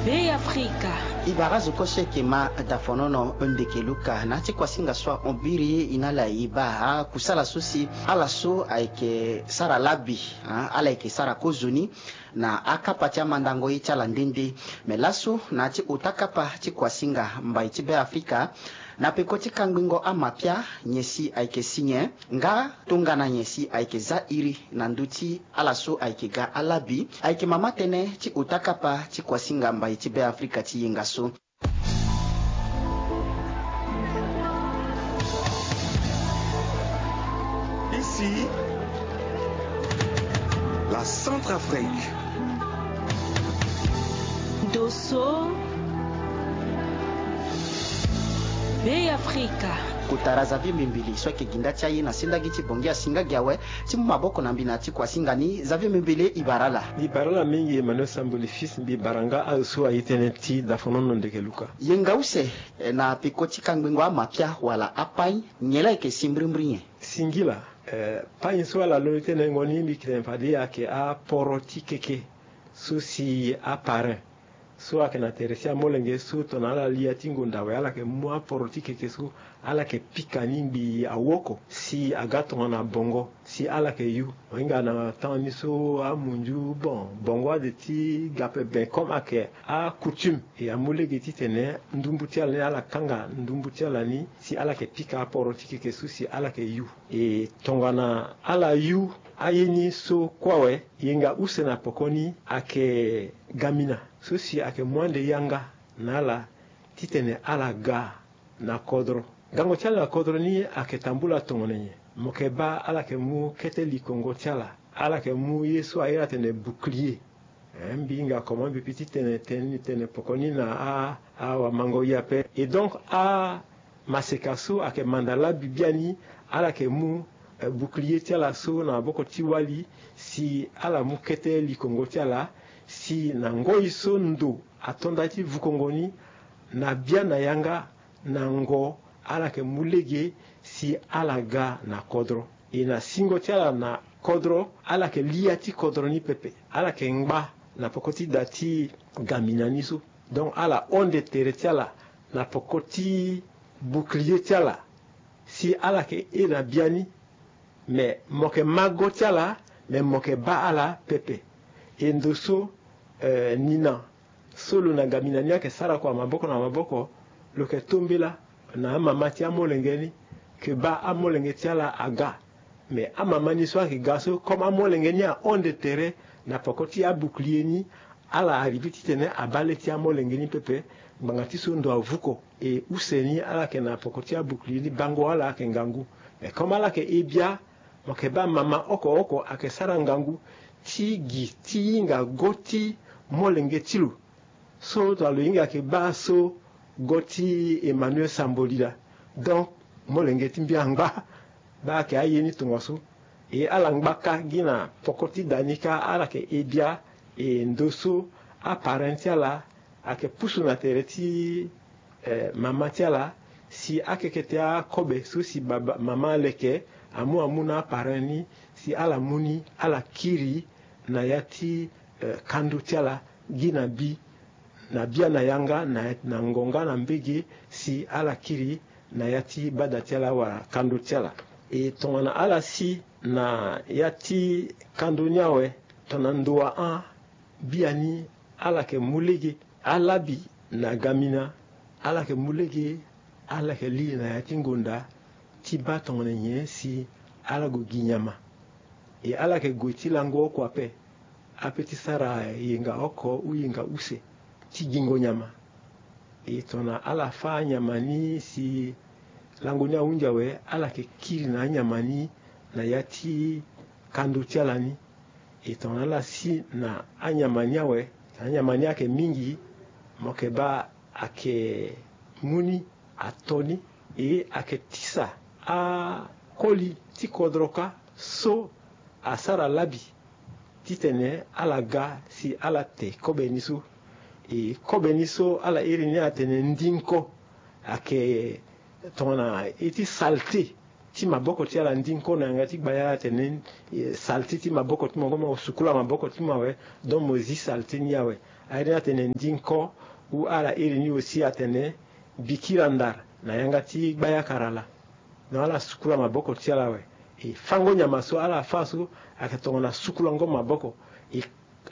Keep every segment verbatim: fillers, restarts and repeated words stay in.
Be Afrika. E bara azo kue so eke ma dafonono ndeke luka na ya ti kuasinga so ahon biri e na ala e baa akusala so si ala so ayeke sara labi, ah, ala yeke sara kozoni na akapa ti amandango ye ti ala nde nde. Me laso na ya ti ota kapa ti kuasinga mbai ti Be Afrika, na peko ti kangbingo amapia, nyen si ayeke si nyen, nga tongana nyen si ayeke za iri na ndö ti ala so ayeke ga alabi, ayeke mama tënë ti ota kapa ti kuasinga mbai ti Be Afrika ti yenga so. Ici, la Centrafrique. Dosso. Be Afrika. Kotara Xavier Mbembele so ayeke ginda ti aye na sendagi ti Bangui asinga gi awe ti mu maboko na mbi na ya ti kuasinga ni. Xavier Mbembele, e bara ala. Mbi bara ala mingi Emmanuel Samboli Fils, mbi bara nga azo so aye tënë ti dafonono ndeke luka. Yenga use, eh, na peko ti kangbingo amapia wala apain, nyen la yeke si mbirimbiri nyen? Singila, eh, pain so ala londo tënë ngo ni mbi yeke tene fade ayeke aporo ti keke so si aparrain so ayeke na tere ti amolenge so tongana ala li ya ti ngonda awe, ala yeke mu aporo ti keke so, ala yeke pika ni ngbii awoko si aga tongana bongo si ala yeke yu. Mo hinga na temps ni so amunzu, bon, bongo ade ti ga ape, ben comme ayeke acoutume, e amu lege titene ndumbu ti ala ni ala kanga ndumbu ti ala ni si ala yeke pika aporo ti keke so si ala yeke yu. E tongana ala yu aye ni so kue awe, yenga use na poko ni ayeke gamina so si ayeke mu ande yanga na ala titene ala ga na kodro. Gango ti ala na kodro ni ayeke tambula tongana nyen? Mo yeke baa ala yeke mu kete likongo ti ala, ala yeke mu ye so a iri atene bouclier. Eh, mbi hinga comment mbi peut ti tene tënë ni tene poko ni na a, awamango ye ape. Et donc, amaseka so ayeke manda labi biani, ala yeke mu, eh, bouclier ti ala so na maboko ti wali, si ala mu kete likongo ti ala, si na ngoi so ndo ato nda ti vukongo ni, na bia na yanga, na ngo, ala yeke mu lege si ala ga na kodro. E na singo ti ala na kodro, ala yeke li ya ti kodro ni pepe. Ala yeke ngba na poko ti da ti gamina ni so. Donc ala honde tere ti ala na poko ti bouclier ti ala, si ala yeke e na biani. Me mo yeke ma go ti ala, me mo yeke baa ala pepe. E ndo so, eh, nina so lo na gamina ni ayeke sara kua maboko na maboko, lo yeke tombela na amama ti amolenge ni, ke baa amolenge ti ala aga. Me amama ni so ayeke ga so, comme amolenge ni ahonde tere na poko ti abouclier ni, ala arrivé titene abaa le ti amolenge ni pepe, ngbanga ti so ndo avuko. E use ni ala yeke na poko ti abouclier ni, bango ala ayeke ngangu. Me comme ala yeke e bia, mo yeke baa mama oko oko ayeke sara ngangu ti gi ti hinga go ti molenge ti lo. So tongana lo hinga yeke baa so go ti Emmanuel Samboli laa. Donc molenge ti mbi angba. Baa ayeke aye ni tongaso. E ala ngba kâ gi na poko ti da ni kâ, ala yeke e bia. E ndo so aparrain ti ala ayeke pusu na tere ti, eh, mama ti ala, si akeke ti akobe so si baba, mama aleke amu amu na aparrain ni, si ala mu ni, ala kiri na ya ti, eh, kando ti ala, gi na bi, na bia na yanga, na, na ngonga na mbege, si ala kiri na ya ti bada ti ala wala kando ti ala. E tongana ala si na ya ti kando ni awe, tongana ndo ahon, biani ala yeke mu lege. Alabi na gamina, ala yeke mu lege, ala yeke li na ya ti ngonda ti baa tongana nyen si ala gue gi nyama. E ala yeke gue ti lango oko ape, ape ti sara yenga oko ou yenga use ti gingo nyama. E tongana ala fâ anyama ni si lango ni ahunzi awe, ala yeke kiri na anyama ni na ya ti kando ti ala ni. E tongana ala si na anyama ni awe, anyama ni ayeke mingi, mo yeke baa ayeke mu ni, ato ni, e ayeke tisa akoli ti kodro kâ so asara labi titene ala ga si ala te kobe ni so. E kobe ni so ala iri ni atene ndinko, ayeke tongana ye ti saleté ti maboko ti ala, ndinko na yanga ti gbaya atene, eh, saleté ti maboko ti mo, mo sukula maboko ti mo awe, donc mo zi saleté ni awe. Airi ni atene ndinko. Ou ala iri ni aussi atene bikira ndara na yanga ti gbayakara laa. Donc ala sukula maboko ti ala awe. E fango nyama so ala fa so ayeke tongana sukulango maboko. E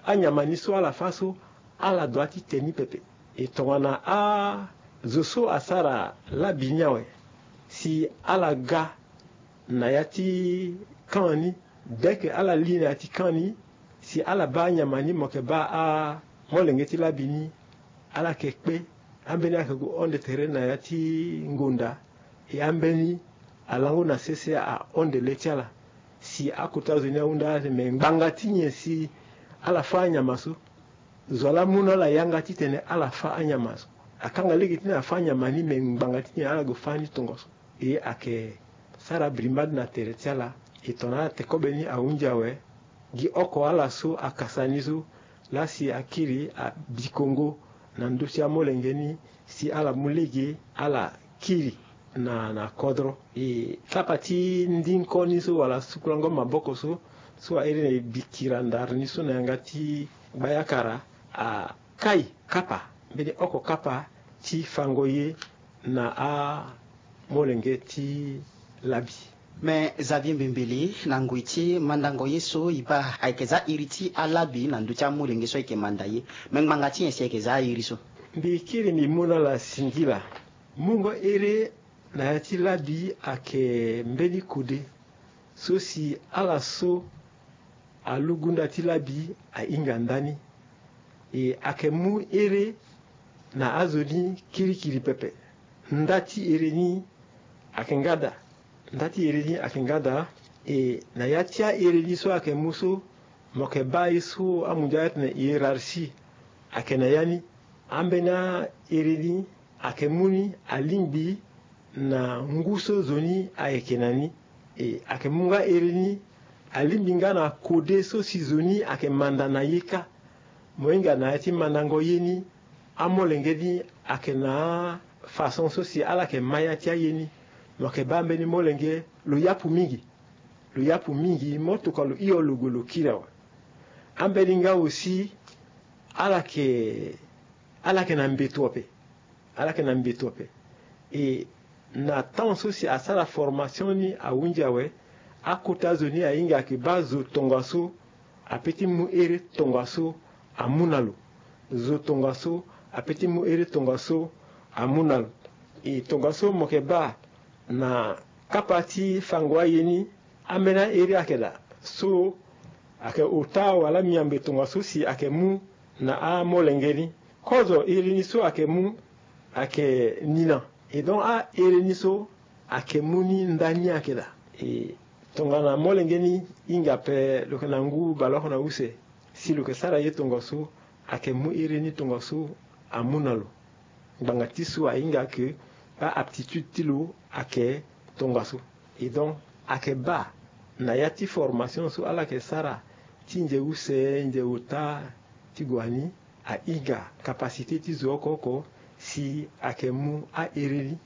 anyama ni so ala fa so ala dua ti te ni pepe. E tongana azo so asara labi ni awe, si ala ga na ya ti kan ni, dès que ala li na ya ti kan ni, si ala baa anyama ni, mo yeke baa amolenge ti labi ni. Ala yeke kpe. Ambeni ala yeke gue hon de tere na ya ti ngonda. E ambeni alango na sese ahon de le ti ala. Si akota zo ni ahunda ala te, me ngbanga ti nyen si ala fa anyama so? Zo laa amu na ala yanga titene ala fa anyama so. Akanga lege ti na afa anyama ni, me ngbanga ti nyen ala gue fa ni tongaso? E ayeke sara birimbali na tere ti ala. E tongana ala te kobe ni ahunzi awe, gi oko ala so akasa ni so, laa si akiri abikongo na ndö ti amolenge ni, si ala mu lege ala kiri na na kodro. E kapa ti ndinko ni so wala sukulango maboko so, so airi na e bikira ndara ni so na yanga ti gbayakara, akai kapa, mbeni oko kapa ti fango ye na amolenge ti labi. Me Xavier Mbembele, na ngoi ti mandango ye so e baa ayeke za iri ti alabi na ndö ti amolenge so ayeke manda ye. Me ngbanga ti nyen si ayeke za airi so? Mbi kiri mbi mu na ala singila. Mungo ere na ya ti labi ayeke mbeni kode so si ala so alugu nda ti labi ahinga ndani. E ayeke mu ere na azo ni kirikiri pepe. Nda ti ere ni ayeke nga daa. Nda ti ere ni ayeke nga daa. E na ya ti aere ni so ayeke mu so, mo yeke baa ye so amundia atene hiérarchie ayeke na ya ni. Ambeni aere ni ayeke mu ni alingbi na ngu so zo ni ayeke na ni. E ayeke mu nga ere ni alingbi nga na kode so si zo ni ayeke manda na ye kâ. Mo hinga na ya ti mandango ye ni, amolenge ni ayeke na afaçon so si ala yeke ma ya ti aye ni. Mo yeke baa mbeni molenge lo yapu mingi. Lo yapu mingi, mo tokua lo hio lo gue lo kiri awe. Ambeni nga aussi ala yeke, ala yeke na mbeto ape. Ala yeke na mbeto ape. E na temps so si asara formation ni ahunzi awe, akota zo ni ahinga ayeke baa zo tongaso apeut ti mu ere tongaso amu na lo. Zo tongaso apeut ti mu ere tongaso amu na lo. E tongaso mo yeke baa na kapa ti fango aye ni, ambeni aere ayeke daa so ayeke ota wala miambe tongaso si ayeke mu na amolenge ni. Kozo iri ni so ayeke mu ayeke nina. E donc aere ni so ayeke mu ni ndani ayeke daa. E tongana molenge ni hinga ape, lo yeke na ngu baleoko na use, si lo yeke sara ye tongaso, ayeke mu iri ni tongaso amu na lo. Ngbanga ti so ahinga ayeke aaptitude ti lo ayeke tongaso. E donc ayeke baa na ya ti formation so ala yeke sara ti nze use, nze ota ti gue ani, ahinga capacité ti zo oko oko si ayeke mu aere ni.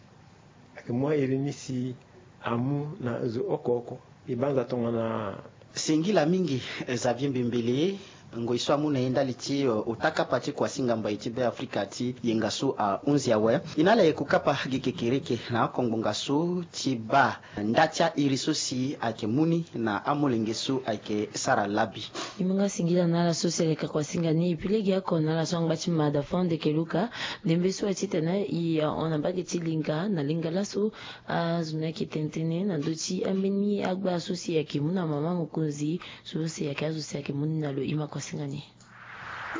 Ayeke mu aere ni si amu na zo oko oko. E banza tongana. Singila mingi, eh, Xavier Mbembele. Ngoi so amu na e ndali ti, eh, ota kapa ti kuasinga mbai ti Beafrika ti yenga so ahunzi awe. E na ala e ku kapa gi kekereke na oko ngbonga so ti baa nda ti airi so si ayeke mu ni na amolenge so ayeke sara labi. E mu nga singila na ala so si ayeke ka kuasinga ni. E pi lege oko na ala so angba ti mada fo ande yeke luka ndembe so aye titene e hon na mbage ti linga na linga laso. Azo ni ayeke tene tënë na ndö ti ambeni agba so si ayeke mu na mama mokonzi so si ayeke azo si ayeke mu ni na lo. E ma kuasinga ni.